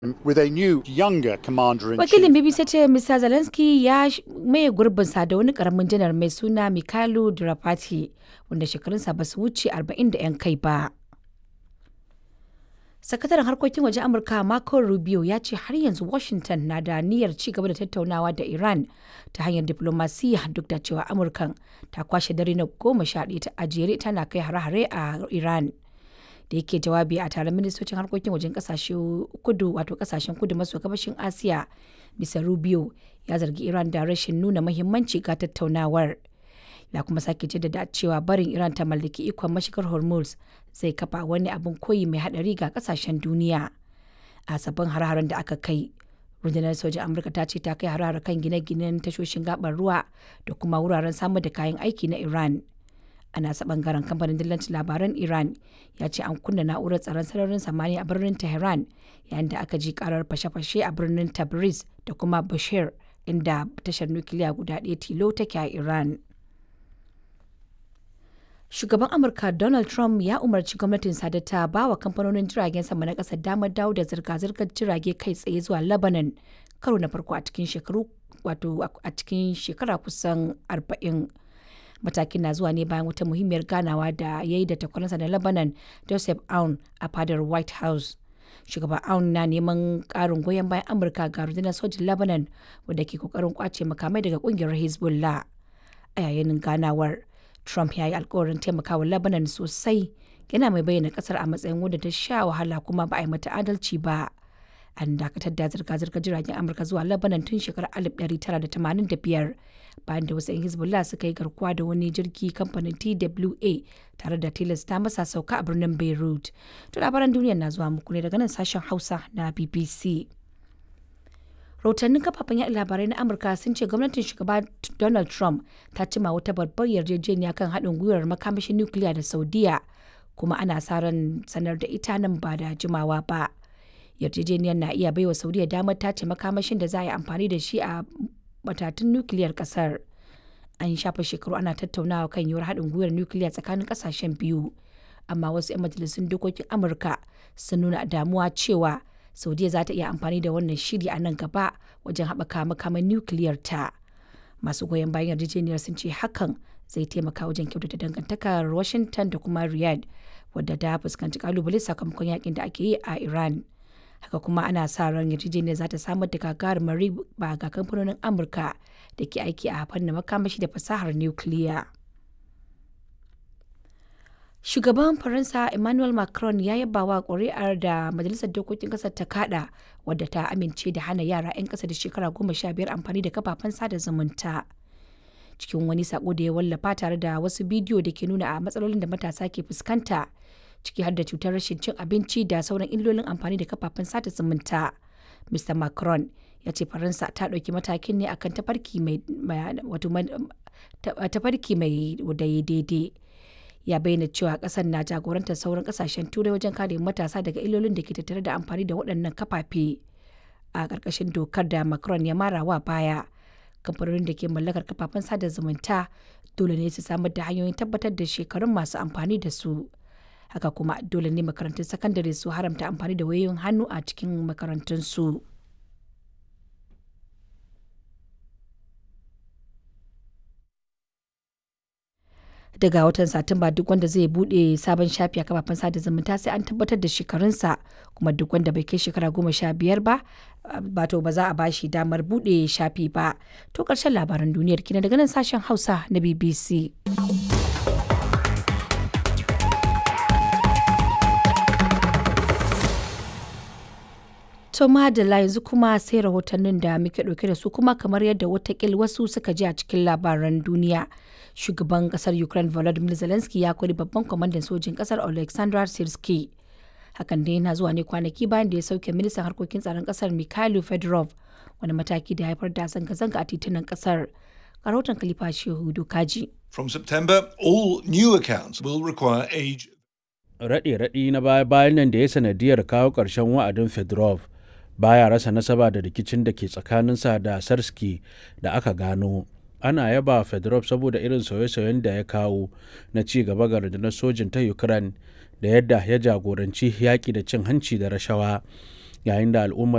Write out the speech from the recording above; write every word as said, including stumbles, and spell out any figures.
With a new, younger commander in Wakilin chief. B B C ce Mister Zelensky ya maye gurbinsa da wani karamin janar mai suna Mikhailo Drapatyi, wanda shekarunsa ba su wuce arba'in da 'yan kai ba. Sakataren harkokin wajen Amurka Marco Rubio ya ce har yanzu Washington na da niyyar ci gaba da tattaunawa da Iran ta hanyar diflomasiyya, duk da cewa Amurkan ta kwashe dare na goma sha ɗaya ta a jere tana kai hare-hare a Iran. Da yake jawabi a taron ministocin harkokin wajen kasashe kudu wato kasashen kudu maso gabashin Asiya, Mister Rubio ya zargi Iran da rashin nuna muhimmanci ga tattaunawar. Ya kuma sake jaddada cewa barin Iran ta mallaki ikon mashigar Hormuz zai kafa wani abin koyi mai hadari ga kasashen duniya. A sabbin har-haren da aka kai, rundunar sojin Amurka ta ce ta kai har kan gine-ginen tashoshin gabar ruwa da kuma wuraren samar da kayan aiki na Iran. A nasa bangaren, kamfanin dillancin labaran Iran ya ce an kunna na'urar tsaron sararin samaniya a birnin Tehran, yayin da aka ji karar fashe-fashe a birnin Tabriz da kuma Bushehr, inda tashar nukiliya guda ɗaya tilo take a Iran. Shugaban Amurka Donald Trump ya umarci gwamnatin da ta ba wa kamfanonin jiragen sama na ƙasar damar dawo da zirga-zirgar jirage kai tsaye zuwa Lebanon karo na farko a cikin shekaru wato a cikin shekara kusan arba'in. Matakin na zuwa ne bayan wata muhimmiyar ganawa da ya yi da takwaransa na Lebanon, Joseph Aoun, a fadar White House. Shugaban Aoun na neman karin goyon bayan Amurka ga rundunar sojin Lebanon, wadda ke kokarin kwace makamai daga kungiyar Hezbollah. A yayin ganawar, Trump ya yi alkawarin taimakawa Lebanon sosai, yana mai bayyana kasar a matsayin wadda ta sha wahala kuma ba a yi mata adalci ba. An dakatar da zirga-zirgar jiragen Amurka zuwa Lebanon tun shekarar alif ɗari tara da tamanin da biyar, bayan da wasu 'yan Hezbollah suka yi garkuwa da wani jirgi kamfanin T W A tare da tilasta masa sauka a birnin Beirut. To, labaran duniya na zuwa muku ne daga nan sashen Hausa na B B C. Rahotannin kafafen yaɗa labarai na Amurka sun ce gwamnatin Shugaba Donald Trump ta cima wata babbar yarjejeniya kan haɗin gwiwar makamashin nukiliya da Saudiya, kuma ana sa ran sanar da ita nan ba da jimawa ba. Yarjejeniyar na iya baiwa Saudiya damar tace makamashin da za a yi amfani da shi a matatun nukiliyar kasar. An shafa shekaru ana tattaunawa kan yiwuwar haɗin gwiwar nukiliya tsakanin ƙasashen biyu, amma wasu 'yan majalisun dokokin Amurka sun nuna damuwa cewa Saudiya za ta iya amfani da wannan shiri a nan gaba wajen haɓaka makaman nukiliyar ta. Masu goyon bayan yarjejeniyar sun ce hakan zai taimaka wajen kyautata dangantakar Washington da kuma Riyadh, wadda ta fuskanci kalubale sakamakon yakin da ake yi a Iran. Haka kuma ana sa ran yarjejeniyar za ta samar da gagarumar riba ga kamfanonin Amurka da ke aiki a fannin makamashi da fasahar nukiliya. Shugaban Faransa Emmanuel Macron ya yaba wa ƙuri'ar da Majalisar Dokokin Ƙasar ta kada, wadda ta amince da hana yara 'yan ƙasa da shekara goma sha biyar amfani da kafafen sada zumunta. Cikin wani sako da ya wallafa tare da wasu bidiyo da ke nuna a matsalolin da matasa ke fuskanta, ciki har da cutar rashin cin abinci da sauran illolin amfani da kafafen sada zumunta, Mister Macron ya ce Faransa ta ɗauki matakin ne akan tafarki mai tafarki mai daidai. Ya bayyana cewa kasar na jagorantar sauran kasashen Turai wajen kare matasa daga illolin da ke tattare da amfani da waɗannan kafafe. A ƙarƙashin dokar da Macron ya mara wa baya, kamfanonin da ke mallakar kafafen sada zumunta dole ne su samar da hanyoyin tabbatar da shekarun masu amfani da su. Haka kuma dole ne makarantun sakandare su haramta amfani da wayoyin hannu a cikin makarantunsu. Daga watan Satumba, duk wanda zai bude sabon shafi a kafafen sada zumunta sai an tabbatar da shekarunsa, kuma duk wanda bai kai shekara goma sha biyar ba bato ba za a bashi damar bude shafi ba. To, karshen labaran duniyar kina daga nan sashen Hausa na B B C. To madalla, yanzu kuma sai rahotannin da muke ɗauke da su. Kuma kamar yadda watakil wasu suka ji a cikin labaran duniya, shugaban kasar Ukraine Volodymyr Zelensky ya kori babban kwamandan sojin kasar Alexander Sirski. Hakan dai yana zuwa ne kwanaki bayan da ya sauke ministan harkokin tsaron kasar Mikhailo Fedorov, wani mataki da ya haifar da zanga-zanga a titunan kasar. Rahoton Khalifa Shehu Dokaji. From September, all new accounts will require age Raɗe-raɗi na baya-bayan nan da ya sanadiyar kawo ƙarshen wa'adin Fedorov baya rasa nasaba da rikicin da ke tsakaninsa da Sirski da aka gano. Ana yaba Fedorov saboda irin sauye-sauyen da ya kawo na ci gaba ga rundunar sojin ta Ukraine da yadda ya jagoranci yaƙi da cin hanci da rashawa, yayin da al'ummar